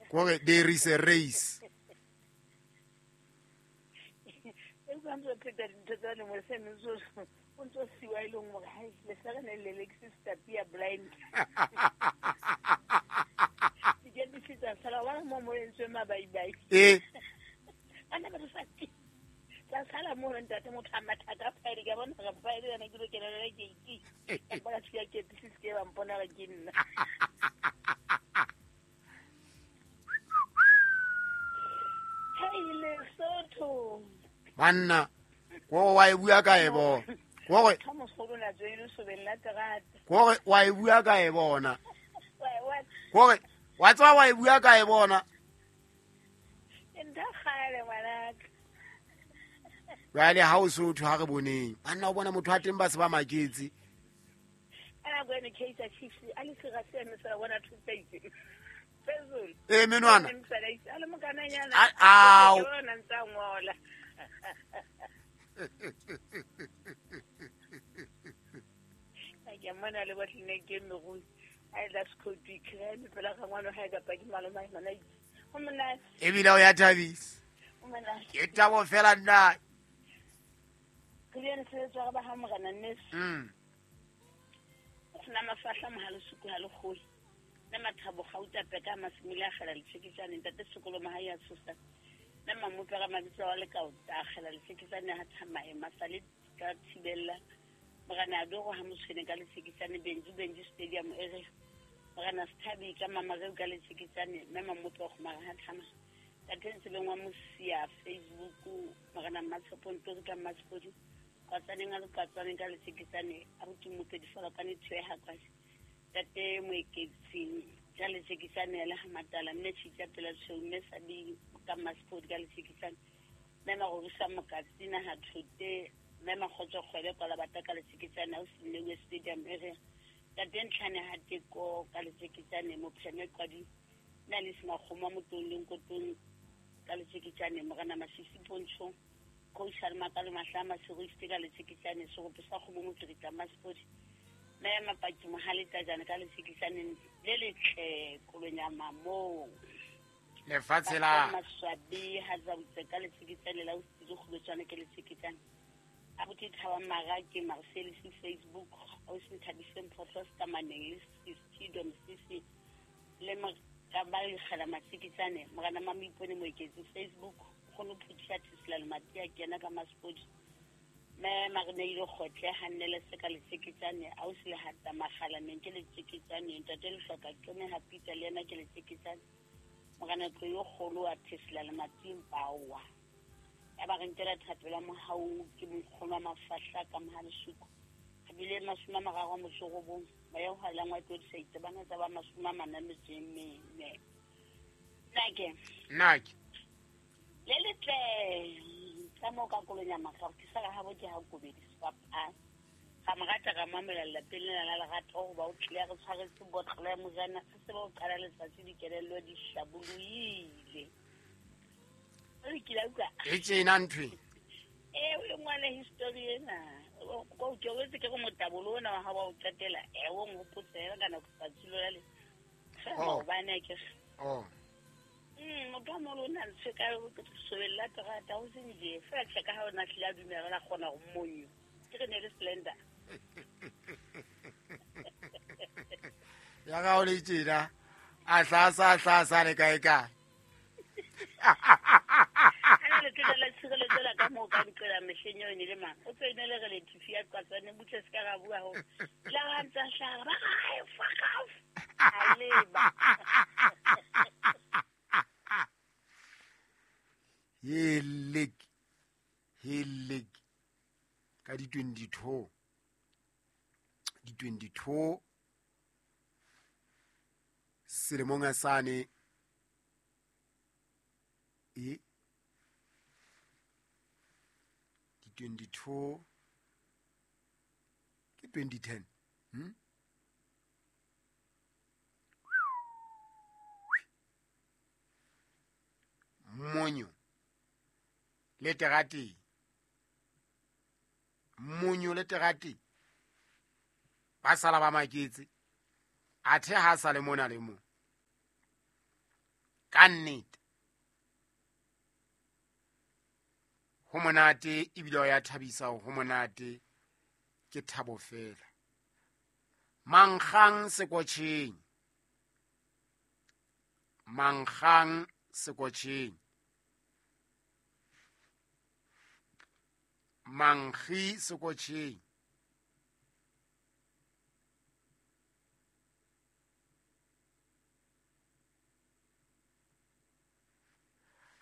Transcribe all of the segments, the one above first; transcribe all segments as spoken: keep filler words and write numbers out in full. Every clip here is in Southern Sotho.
Kore there is a race. Eh. Banna go wa e bua ka e bona go go wa e bua ka e bona go wa tswa wa e bua ka e bona jwale ha o sotho ha re boneng banna o bona motho a teng ba se ba maketse e menwana ao ke mona le botlene ke mego a la skoti kreme pela ga ngwana ha ka pa ke maloma mana o mona e bile o ya thabisa o mona ke tabo fela nna ke le se tswa ba ha morena nnes mm sna mafahla mohalo suku ha le khoi na mathabo gauta peka masimile a gela letsheketsane ntate sekolo ma ha ya tshosa na mamope ga mabitso wa le ka o tagela letsheketsane ha thamae masale ka thibella morena do go ha motshwene ka letsheketsane Benji Benji Stadium e re morena Sthabi ka mama re ka letsheketsane mme mamope go mara ha thama ka tentse lengwa mosia Facebook morena Matshepo Ntori ka Matsipodi kwa tsaneng a ka tsaneng ka letsheketsane a botumope di fela ka ne thwe ha kwa tate moeketsi ka letsheketsane le ha matala mme tshitsa pela tshweu mme sabi ka Masport ka letsheketsane mme magorisa mokatsi na ha thote mme magotso kgwele kwa la bata ka letsheketsane o sinne stadium e re tate ntlhane ha teko ka letsheketsane mopheme kwadi na le smakgoma motong kotong ka letsheketsane morena Masisi Pontsho coach Almakalo Mahlama Segiste ka letsheketsane segopo sa kgomo motswetsa Masport mme mapaki mohale tajana ka letsheketsane le letle kolonyama mo lefatshe la maswabi ha za botse ka letsheketsane la o tsile go tswana ke letsheketsane a botse thaba mara ke Marcel si Facebook o se thabiseng photos ka maneng le Stadium C C le ka ba le gela matsheketsane morena Mamipone moeketsi Facebook go no phutha tsela le matia ke yena ka Masport me marene ile gotle hanele se ka letsheketsane a o se le hata magala neng ke letsheketsane ntate le hloka ke me ha Peter le yena ke letsheketsane morena tlo yo golo wa Tesla le mating pawa ya ba re ntela thapelo mohau ke mokgoma mafahla ka mohalisuku a bile masuma mararo motsogobong ba ya ho langwa tlo disaitse bana tsa ba masuma mana metseng mene nake nake le letle ka mo ka kolonya maka ke sa ga bo ke ha kobedi swapa ga morata ga mamela lapeng la la lerato go ba o tlile re tshwaretse botlolo ya mojana se se ba o qala letsatsi dikelello di hlaboloile o ke la utlwa e tsena nthwe e o ngwana history ena go ke o tse ke go motabolo ona wa ha wa o qetela e o ngopotse ka nako tsatsi la le oh bana ke oh mm motho a molo na ntse ka go sobella terata o se nje fela tsheka ha ona tlile a dumela la kgona go monyo ke re ne le slender ya ga o le tsena a hlasa hlasa le kae kae ana le tsela la tshireletso la ka mo ka nqela mehleng eo ne le mang o tsene le re le thifi ya qatsane butle se ka ga bua ho la ga ntsa hlaga ba ga fuck off a leba helek helek ka di twenty-two di twenty-two selemong a sane e di twenty-two ke twenty ten hm monyo le terate monyo le terate ba sala ba maketse athe ha sa le mona le mo. Ka nnete ho monate ebile ya thabisa, ho monate ke thabo fela. Mankgang sekotjheng, mankgang sekotjheng, mankgi sekotjheng.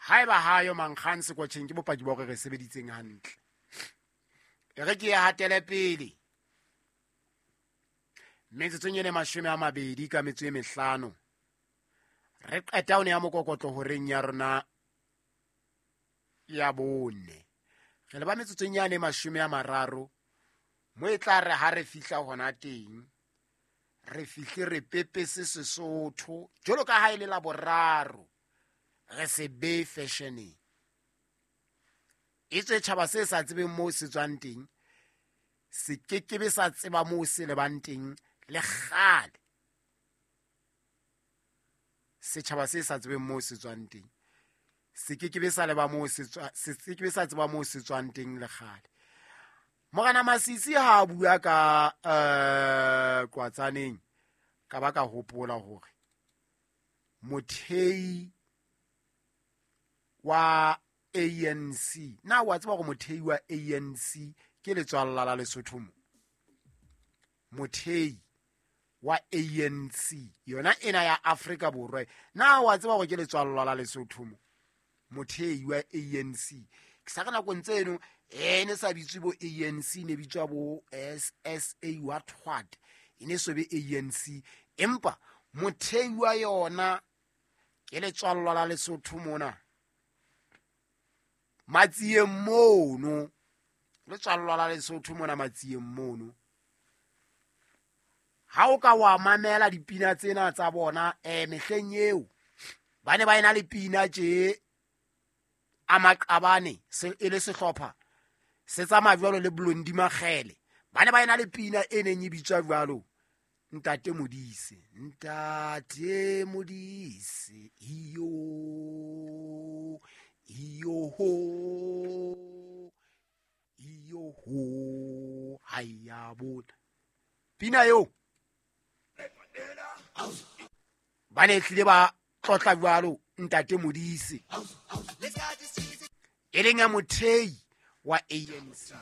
Haeba hayo mankgang sekotjheng ke bopaki ba hore re sebeditseng hantle. E re ke ya hatele pele. Metsotsong e mashome a mabedi ka metso e mehlano re qeta ho ne ya mokokotlo horeng ya rona ya bone. Re leba metsotsong yane mashome a mararo mo e tla re ha re fihla hona teng re fihle re pepese Sesotho jwalo ka ha e le la boraro re se be fashioneng. E tswe tjhaba se sa tsebeng moo se tswang teng se kekebe sa tseba moo se lebang teng le kgale. Setjhaba se sa tsebeng moo se tswang teng se kekebe sa leba moo se tswa, se kekebe sa tseba moo se tswang teng le kgale. Morena Masisi ha a bua ka eh Kwatsaneng ka ba ka hopola hore mothei wa A N C, na wa tseba hore mothei wa A N C ke letswalla la Lesotho mo? Mothei wa A N C yona ena ya Afrika Borwa, na wa tseba hore ke letswalla la Lesotho mo? Mothei wa A N C ke sa re nakong tseno e ne sa bitswe bo A N C, ne bitswa bo S S A what what, e ne so be A N C, empa mothei wa yona ke letswalla la Lesotho mona Matsieng mono, letswalla la Lesotho mona Matsieng mono. Ha o ka wa mamela dipina tsena tsa bona eh mehleng eo ba ne ba ena le pina tje a maqabane se e le sehlopha se tsamaya jwalo le Blondi Makgele, ba ne ba ena le pina e neng e bitswa jwalo Ntate Modise, Ntate Modise iyo iyo ho iyo ho haya bona. Pina eo ba ne tlile ba tlotla jwalo Ntate Modise e leng ya mothei wa A N C.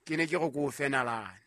Ke ne ke re ko fenalane.